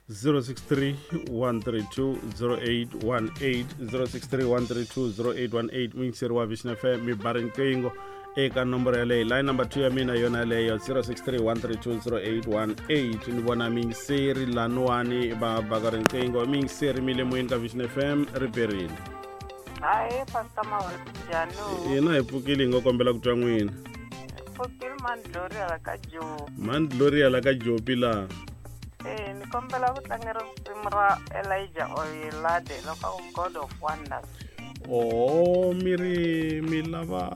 063 132 0818 063 132 0818 muyingiseri wa Vision FM mi ba riqingho eka nomboro yaleyo. Line number 2 ya mina yona yaleyo 063 132 0818. Ni vona miyingiseri laniwani va baka riqingho. Miyingiseri mi le moyeni ka Vision FM, ri perile. Hayi, Pastor Mahuri, njhani? Hina hi pfukile, hi nga kombela ku twa n'wina. Pfukile, Mandlori hala ka Jopi. Mandlori hala ka Jopi laha. Ni kombela ku tlangela risimu ra Elijah Oyelade loko ku God of Wonders. Oh, mi ri mi lava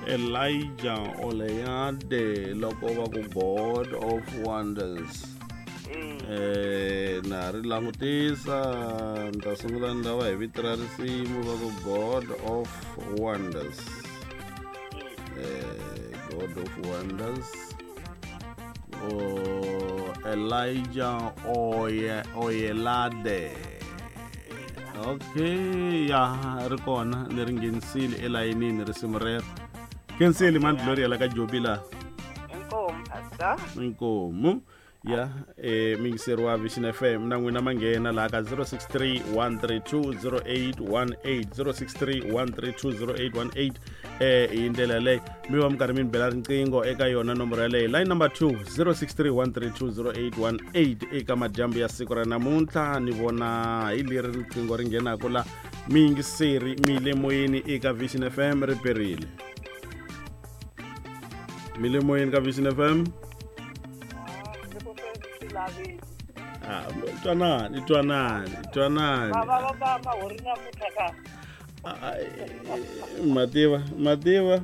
Elijah Oyelade loko va ku God of Wonders. Na ri langutisa, ni ta sungula ni lava hi vito ra risimu va ku God of Wonders. God of Wonders. Oh, Elijah Oyelade. Okay, ya ri kona ni ri nghenisile elayinini risimu rero. Khensile Mandlori ya la ka Jobi laha. Inkomu, Pastor. Inkomu. Ya, miyingiseri wa Vision FM na n'wina manghena laha ka 063 132 0818 063 132 0818. Hi ndlela yaleyo mi va mi karhi mi ni bela riqingho eka yona nomboro yaleyo, line number 2 063 132 0818. Eka madyambu ya siku ra namuntlha ni vona hi leri riqingho ri nghenaka la. Miyingiseri mi le moyeni eka Vision FM, ri perile. Mi le moyeni ka Vision FM. Ah, twanani, twanani, twanani. Mativa, mativa.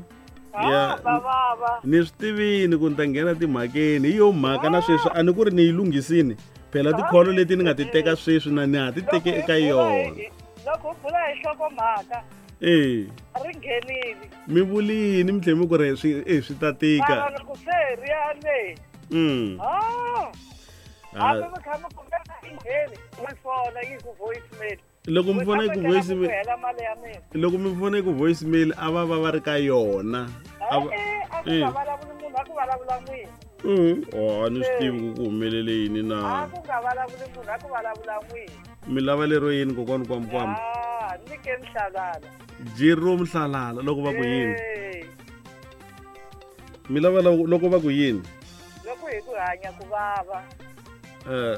Ya, ni swi tivini ku ni ta nghena timhakeni. Hi yo mhaka na sweswi a ni ku ri ni yi lunghisini. Phela tikholo leti ni nga ti teka sweswi na ni ha ti teke eka yona. Loko u bula hi nhlokomhaka, ri nghenile. Mi vulini mi tlhela mi ku ri swi ta tika. Mara loko se ri ya le. Hambi mi kha mi kumeka yi ngheni, mi fona yi ku voicemail. Loko mi fona yi ku voicemail, hela mali ya mina. Loko mi fona yi ku voicemail, a va va va ri ka yona. A ku nga vulavuli munhu, a ku vulavula n'wina. Oh, a ni swi tivi ku ku humelele yini na. A ku nga vulavuli munhu, a ku vulavula n'wina. Mi lava lero yini kokwani kwamkwam? Ah, ni ke Mhlalala. Jero Mhlalala loko va ku yini? Mi lava loko va ku yini? Loko hi ku hanya ku vava. Ah,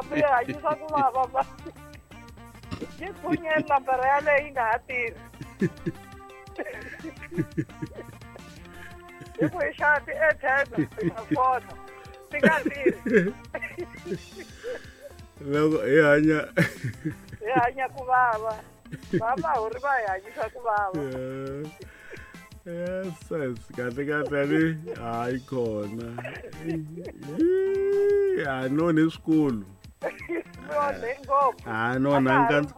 mi hanyisa ku vava ba. Yi phunyeni nambara yaleyo yi nga ha tirhi. Hi ku hi xava ti-airtime hi nga fona ti nga tirhi. Loko hi hanya hi hanya ku vava. Va Mahuri va hi hanyisa ku vava. Yes, yes, kahle kahle ni hayi khona. A no ni swikulu. A no na nkantsa.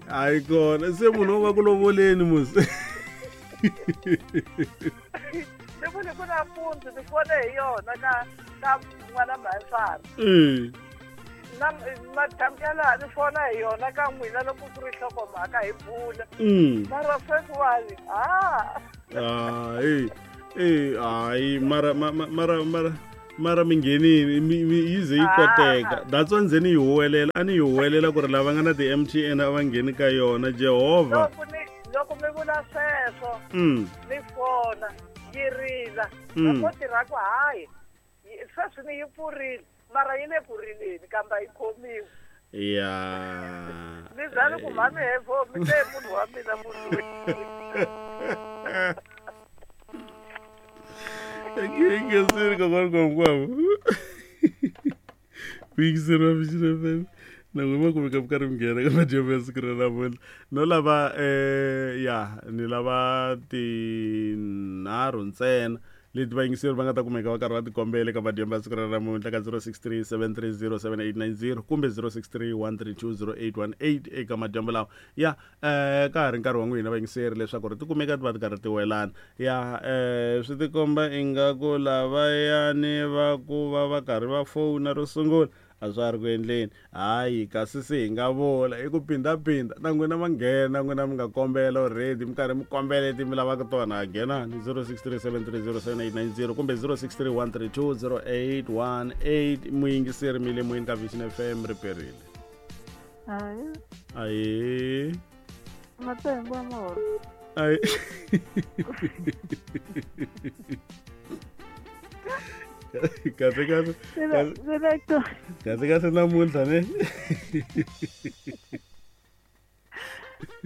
Hayi khona, se munhu wo va ku lovoleni musi. Ni vule ku nampundzu ni fone hi yona ka ka n'wana mhayifari. Na madyambu ya laha ni fona hi yona ka n'wina loko ku ri nhlokomhaka hi bula. Mara sweswiwani, ha. Hayi, hayi, mara mara mara mara mi nghenini, yi ze yi koteka. That's why nze ni yi huwelela, a ni yi huwelela ku ri lava nga na ti-MTN a va ngheni ka yona. Jehovha. Loko mi vula sweswo, ni fona yi rila. Loko tirha ku hayi, sweswi ni yi pfurile. Mara yi le ku rileni kambe a yi khomiwi. Ya. Ni za ni ku mhani hevo, mi te munhu wa mina munhu loyi. Ngesiri kokwani kwamkwam. Muyingiseri wa Vision FM. Na n'wina ma kumeka mi karhi mi nghena ka madyambu ya siku ra namuntlha. No lava ya, ni lava tinharhu ntsena leti vayingiseri va nga ta kumeka va karhi va tikombela eka madyambu ya siku ra namuntlha ka 063 730 7890 kumbe 063 132 0818 eka madyambu lawa. Ya, ka ha ri nkarhi wa n'wina vayingiseri leswaku ri ti kumeka ti va ti karhi ti welana. Ya, swi tikomba ingaku lavayani va ku va va karhi va fona ro sungula A swa ha ri ku endleni. Hayi, kasi se hi nga vula i ku phindaphindha na n'wina ma nghena, n'wina mi nga kombela already, mi karhi mi kombela leti mi lavaka tona. Nghenani 0637307890 kumbe 0631320818. Muyingiseri mi le moyeni ka Vision FM, ri perile. Hayi. Ayi. Matengo ya mahoro. Ayi. Kahle kahle. Kahle kahle namuntlha ne.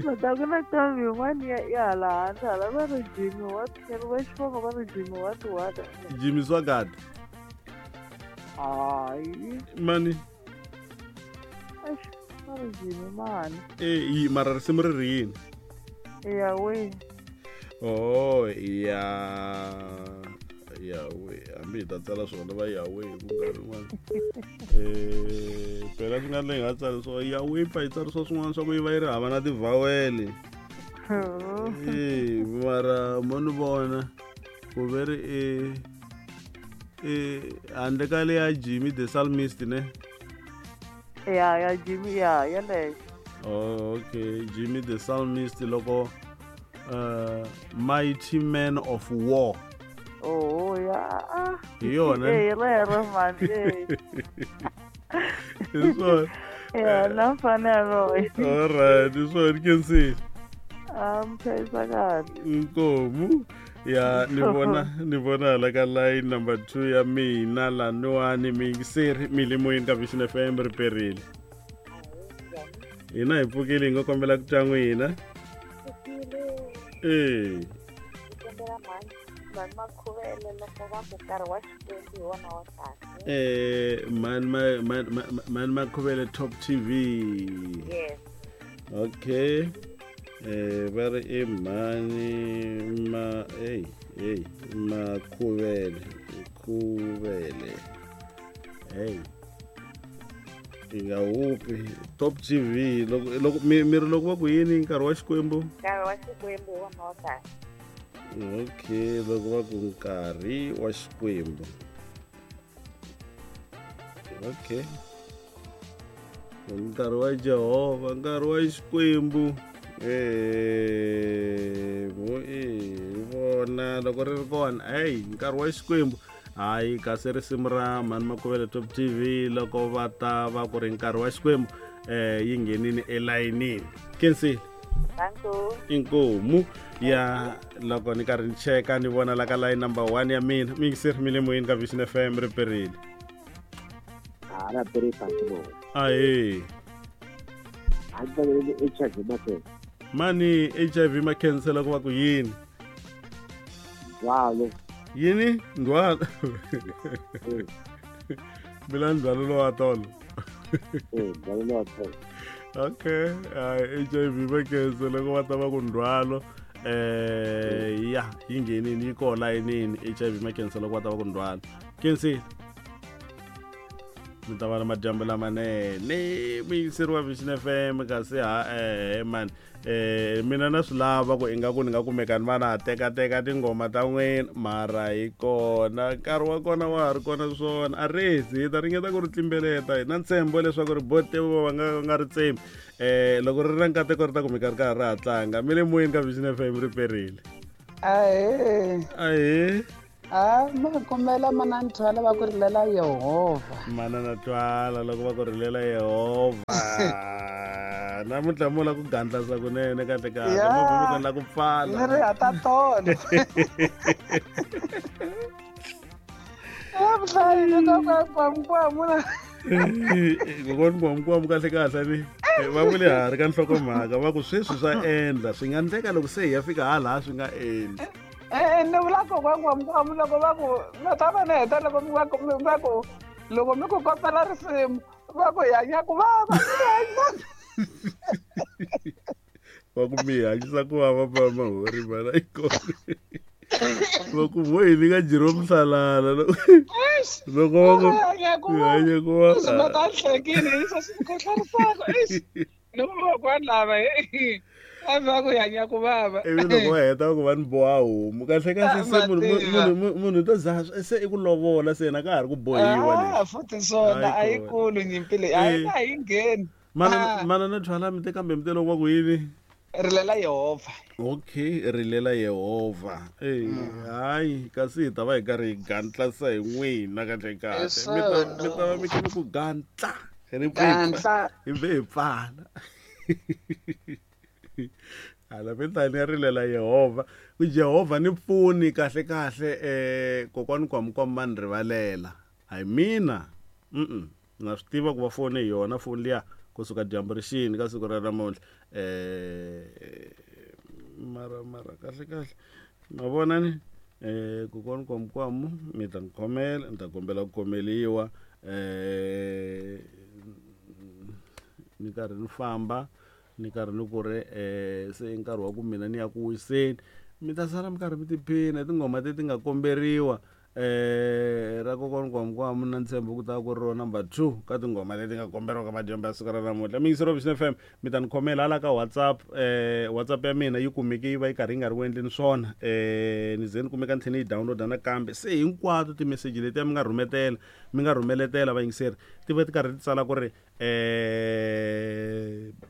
Mata ku na ntombi yin'wana ya hala handle hala va ri Jimmy what va xivongo va ri Jimmy what what. Jimmy Swagard. Hayi. Mani. Eish, va ri Jimmy mani. Eh, mara risimu ri ri yini? Ya we. Oh, ya. Yawe, hambi hi ta tsala swona va Yawe hi ku nkarhi wun'wana. Phela swi nga endla hi nga tsali swo Yawe, pfa hi tsarisiwa swin'wana swa ku yi va yi ri hava na tivhawele. Mara mo ni vona ku ve ri e handle ka leya Jimmy the Psalmist ne? Ya, ya Jimmy, ya, yeleyo. Oh, okay, Jimmy the Psalmist loko Mighty Man of War. Oh, ya. Hi yona. Eh, rero man. Eh. Hi swona. Ya, na mfanelo. All right, hi swona Kensile. Ah, mchayisa kahle. Nkomu. Ya, ni vona hala ka line number 2 ya mina laniwani miyingiseri mi le moyeni ka Vision FM ri perile. Hina hi pfukile hi nga kombela ku twa n'wina. Eh. Mani Makhuvele loko va ku nkarhi wa Xikwembu hi wona wa kahle. Mani Makhuvele Top TV. Yes. Okay. Va ri i mani ma hey hey Makhuvele Khuvele. Hey. Hi nga hupi Top TV loko mi ri loko va ku yini nkarhi wa Xikwembu? Nkarhi wa Xikwembu hi wona wa kahle. Okay, loko va ku nkarhi wa Xikwembu. Okay. Nkarhi wa Jehovha, nkarhi wa Xikwembu. Vona loko ri ri kona, hey, nkarhi wa Xikwembu. Hayi, kasi risimu ra Mani Makhuvele Top TV loko va ta va ku ri nkarhi wa Xikwembu, yi nghenini elayinini. Kensile. Inkomu. Ya loko ni karhi ni cheka ni vona la ka line number 1 ya mina. Miyingiseri mi le moyeni ka Vision FM ri perile. Ra perile bo. Ahe. HIV makhensa. Mani HIV makhensa loko va ku yini? Ndzhwalo. Yini? Ndzhwalo. Mina ndzhwalo lowa tolo. Ndzhwalo lowa tolo. Okay, HIV makhensa loko va ta va ku ndzhwalo. Ya, yi nghenini yi kona layinini HIV makhensa loko va ta va ku ndzhwalo. Kensile. Mi ta va na madyambu lamanene muyingiseri wa Vision FM kasi ha man mina na swi lava ku ingaku ni nga kumeka ni va na tekateka tinghoma ta n'wina mara hi kona nkarhi wa kona wa ha ri kona swona a rezi hi ta ringeta ku ri tlimbeleta hi na ntshembo leswaku ri bote va nga ri tsemi loko ri ri na nkateko ri ta kumeka ri karhi ra ha tlanga mi le moyeni ka Vision FM ri perile. Ahee. Ahee. Ah, ma kombela mana Twala va ku rilela Yehovha. Mana Twala loko va ku rilela Yehovha. Namuntlha mo la ku gandlasa kunene kahle kahle mo vumeka la ku pfala. Ni ri hata tolo. Vuhlayi kwa. Kokwana kwamkwamu kahle kahle ni va vule ha ri ka nhlokomhaka va ku sweswi swa endla swi nga endleka loko se hi ya fika hala swi nga endli. Ni vula kokwana kwamkwamu loko va ku va ta va ni heta loko va ku loko mi ku kombela risimu va ku hi hanya ku vava. Va ku mi hanyisa ku vava va mahori mana yi kona. Va ku vo hi nyika Jerome Salala loko va ku hanya ku vava. Swi va ta hlekile leswi swi khohlarisaka. Eish. Ni kokwana lava Va ku hanya ku vava. Ivi loko va heta ku va ni boha homu. Kahle kahle se munhu to za se i ku lovola se yena ka ha ri ku bohiwa leswi. Futhi swona a yi kulu nyimpi leyi. A yi ngheni. Manana Thwala mi te kambe mi te loko va ku yini? Rilela Yehovha. Okay, rilela Yehovha. Eh, hayi kasi hi ta va hi karhi hi gantla hi n'wina kahle kahle. Mi ta va mi kha mi ku gantla. Gantla. Hi ve hi pfala. Hala mi ta ni rilela Yehovha. Ku Yehovha ni pfuni kahle kahle kokwani Kwamukwamu va ni rivalela. Hayi mina. Na swi tiva ku va fone hi yona foni liya kusuka dyambu ri xini ka siku ra namuntlha. Mara mara kahle kahle ma vona ni kokwani Kwamukwamu mi ta ni khomela ni ta kombela ku khomeliwa ni karhi ni famba ni karhi ni ku ri se i nkarhi wa ku mina ni ya ku wiseni mi ta sala mi karhi mi tiphina hi tinghoma leti nga komberiwa ra kokwani Kwamukwamu na ntshembo ku ta ku ri ro number 2 ka tinghoma leti nga komberiwa ka madyambu ya siku ra namuntlha. Miyingiseri wa Vision FM mi ta ni khomela hala ka WhatsApp. WhatsApp ya mina yi kumeke yi va yi karhi yi nga ri ku endleni swona. Ni ze ni kumeka ni tlhela ni yi download-a nakambe. Se hinkwato timeseji letiya mi nga rhumetela, mi nga rhumeletela vayingiseri ti va ti karhi ti tsala ku ri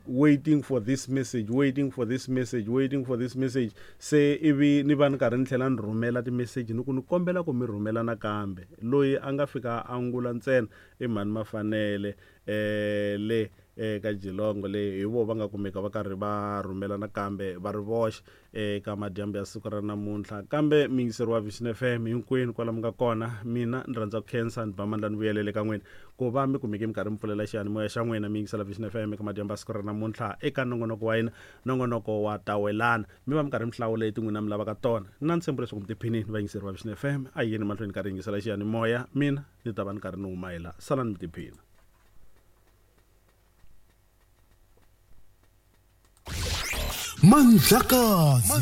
waiting for this message, waiting for this message, waiting for this message. Se ivi ni va ni karhi ni tlhela ni rhumela timeseji ni ku ni kombela ku mi rhumela nakambe. Loyi a nga fika a angula ntsena i mhani Mafanele le ka Jilongo le hi vo va nga kumeka va karhi va rhumela nakambe va ri voxe eka madyambu ya siku ra namuntlha. Kambe miyingiseri wa Vision FM hinkwenu kwala mi nga kona, mina ni rhandza ku khensa ni ba mandla ni vuyelele ka n'wina ku va mi kumeke mi karhi mi pfulela xiyanimoya xa n'wina mi yingisela Vision FM eka madyambu ya siku ra namuntlha eka nongonoko wa hina, nongonoko wa Tawelana. Mi va mi karhi mi hlawula leti n'wina mi lavaka tona. Ni na ntshembo leswaku mi tiphinini vayingiseri va Vision FM. A hi yeni mahlweni karhi yingisela xiyanimoya, mina ni ta va ni karhi ni huma hi la. Salani mi tiphina. Mandlakazi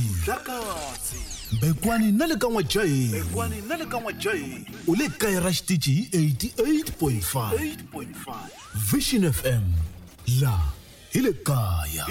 Mbekwani na le ka N'wajaheni u le kaya ra xitichi hi 88.5 Vision FM la hi le kaya.